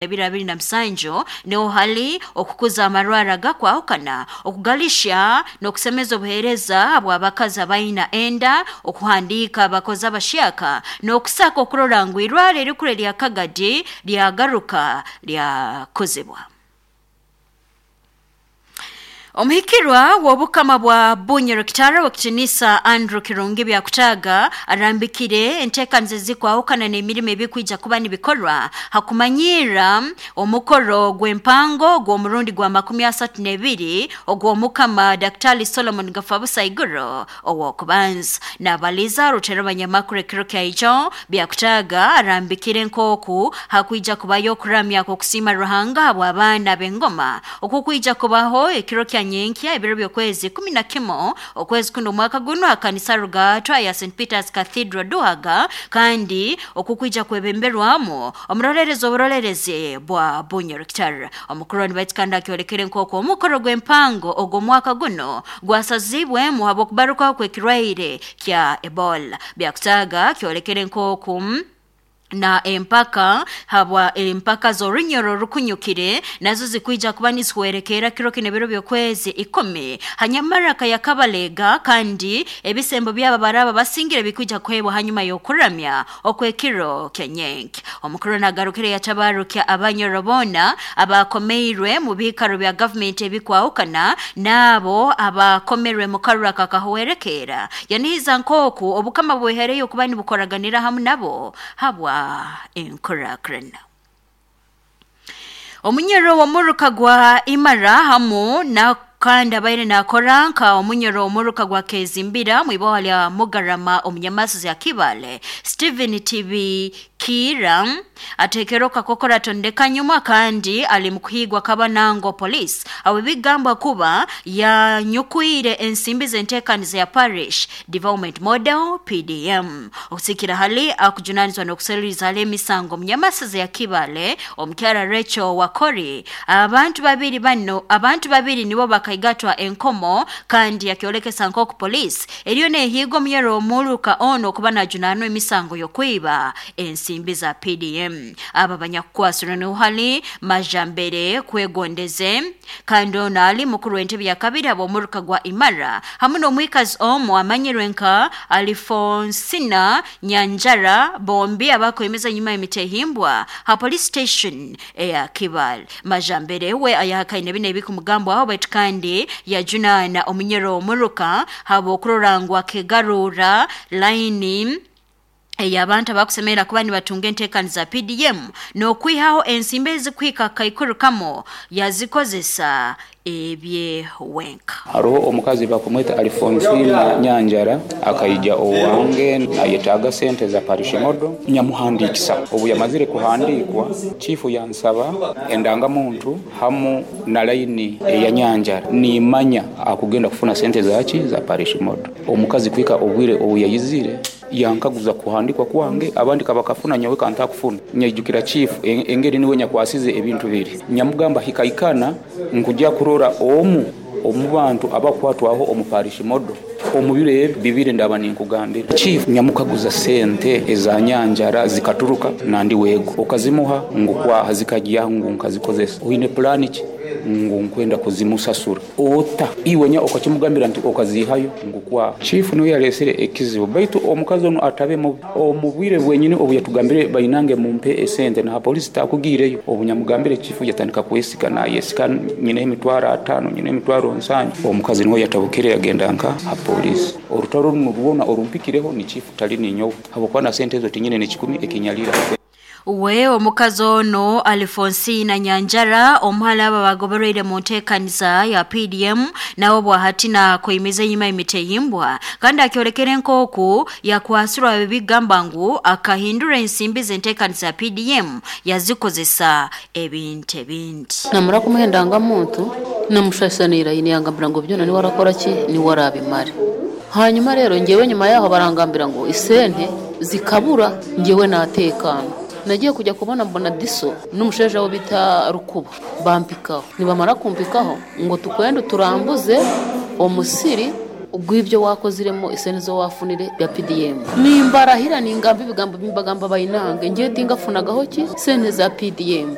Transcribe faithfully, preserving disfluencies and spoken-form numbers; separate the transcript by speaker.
Speaker 1: Ebiro abiri na musanju niho hali okukuza amarwara gakwahukana, okugalisha n'okusemeza obuheereza bw'abakazi abaina enda, okuhandiika abakozi abahyaka n'okusaka okurora ngu irwaro erikuru erya Kagadi lyagaruka lyakozebwa. Omuhikirwa w'obukama bwa Bunyoro Kitara w'ekitinisa Andrew Kirungi Byakutaaga arambikire enteekaniza ezikwahukana n'emirimo ebikwija kuba nibikorwa hakumanyirra omukoro gw'empango gw'omurundi gwa makumi asatu n'ebiri ogw'omukama Daktari Solomon Gafabusa Iguru ow'okubanza. Nabaliza rutero banyamakuru ekiro kyaijo Byakutaaga arambikire nk'oku hakwija kubayo okuramya kw'okusiima Ruhanga habw'abaana b'engoma okukwija kubaho ekiro kya nyenkya ebiro by'okwezi kumi na kimu okwezi kuno omwaka guno akanisa Rugaatwa ya Saint Peters Cathedral Duhaga, kandi okukwija kwebemberwamu omurolerezi oburolerezi bwa Bunyoro Kitara. Omukuru nibaitu kandi akyolekere nk'oku omukoro gw'empango ogw'omwaka guno gwasazibwemu habw'okubarukaho kw'ekirwaire kya Ebola. Byakutaaga kyolekere nk'oku na empaka habwa empaka z'orunyoro orukunyukire nazo zikwija kuba nizihwerekeera kiro kino ebiro by'okwezi ikumi hanyamaraka ya Kabalega, kandi ebisembo byabo baraba basingire bikwija kuheebwa hanyuma y'okuramya okw'ekiro kya nyenke. Omukuru nagarukire yatabarukya abanyoro boona abakomeirwe mu biikaro bya gavumenti ebikwahukana n'abo abakomerwe mu karura kakahwerekeera, yanihiza nk'oku obukama bwehereyo kuba nibukoraganira hamu nabo habwa enkurakurana. Omunyoro w'omuruka gwa Imara hamu na kandi abaire nakora nka omunyoro omuruka gwa Kezimbira mwiboha lya Mugarama omunyamaso ya Kibale Stephen T V Kira atekerwa kakokora tondeka nyuma kandi ali mukuhigwa Kabanango police abo bigambwa kuba yanyukwire ensimbi z'enteekaniza ya Parish Development Model P D M. Okusikira hali akujunanizwa n'okuseruriza hali emisango omunyamasaza ya Kibale omukyara Rachel Wakori, abantu babiri bano abantu babiri nibo bakaigatwa enkomo, kandi yakyolekesa nk'oku police eriyo nehiiga omunyoro omuruka ono okuba najunanwa emisango y'okwiba ensimbi za P D M. Aba banyakukwasirwe niho hali Majambere Kwegondeze, kandi ono ali mukuru w'entebe ya kabiri ab'omuruka gwa Imara, hamu n'omwikazi omu amanyirwe nka Alifonsina Nyanjara, bombi abakwemeza nyuma y'emitehimbwa ha police station eya Kibale. Majambere we ayahakaine bino ebikumugambwaho, baitu kandi yajunaana omunyoro omuruka habw'okurora ngu akegarura layini ey'abantu abakusemerera kuba nibatunga enteekaniza P D M n'okwihaho ensimbi ezikuhika kaikuru kamo yazikozesa ebyewenka.
Speaker 2: Haroho omukazi bakumweta Alfonsina Nyanjara, akaija owange ayetaaga sente za parish model, nyamuhandikisa. Obu yamazire kuhandikwa, chifu yansaba endangamuntu hamu na layini eya Nyanjara, nimanya akugenda kufuna sente zaki za parish model. Omukazi kwika obwire obu yayizire yankaguza kuhandikwa kwange, abandi kabakafuna, nyowe kantakufuna. Nyaijukira chifu engeri niwe nyakwasize ebintu biri, nyamugamba hikaikana nkujya kurora omu omu bantu abakwatwaho omu parish model omu biro ebi bibiri ndaba ninkugambira. Chief nyamukaguza sente eza Nyanjara zikaturuka nandi wego okazimuha ngu kwaha zikajya ngu nkazikozesa oine pulani ki ngu nkwenda kuzimusasura ota iwe nya okakimugambira nti okazihayo ngu kwaha. Chief niwe yalesere ekizibu, baitu omukazi onu atabe mubi omu bwire bwenyini obu yatugambire bainange mumpe esente na polisi takugiireyo. Obu nyamugambire chifu yatandika kwesika nayesika nyine emitwaro atano, nyine emitwaro nsanju. Omukazi niwe yatabukire yagenda nka ha polisi. Orutaro runo rwona orumpikireho ni chifu tali ninyowe, habwokuba na sente ezo tinyine nekikumi ekinyalira.
Speaker 1: We omukazi ono Alfonsina Nyanjara omuhala aba bagobereire mu nteekaniza ya P D M nawe bwahati nakwemiza enyuma emitehimbwa, kandi akyolekere nk'oku yakwasirwa ebigamba ngu akahindura ensimbi z'enteekaniza ya P D M yazikozesa ebintu ebindi.
Speaker 3: Namara kumuha endangamuntu, namushashanira yangambira ngu byona niwe arakora ki niwe arabimare. Hanyuma rero ngewe nyuma yaho barangambira ngo isente zikabura, ngewe natekana. Nagiye kujya kubona mbona diso n'umusheja wo bita Rukuba bampikaho, nibamara kumpikaho ngo tukwende turambuze omusiri. Ogw'ibyo wakoziremo esente zo wafunire bya P D M. Nimbarahira, ningamba ebigambo bimbagamba, bainange, ngiye tingafunagaho ki sente za P D M.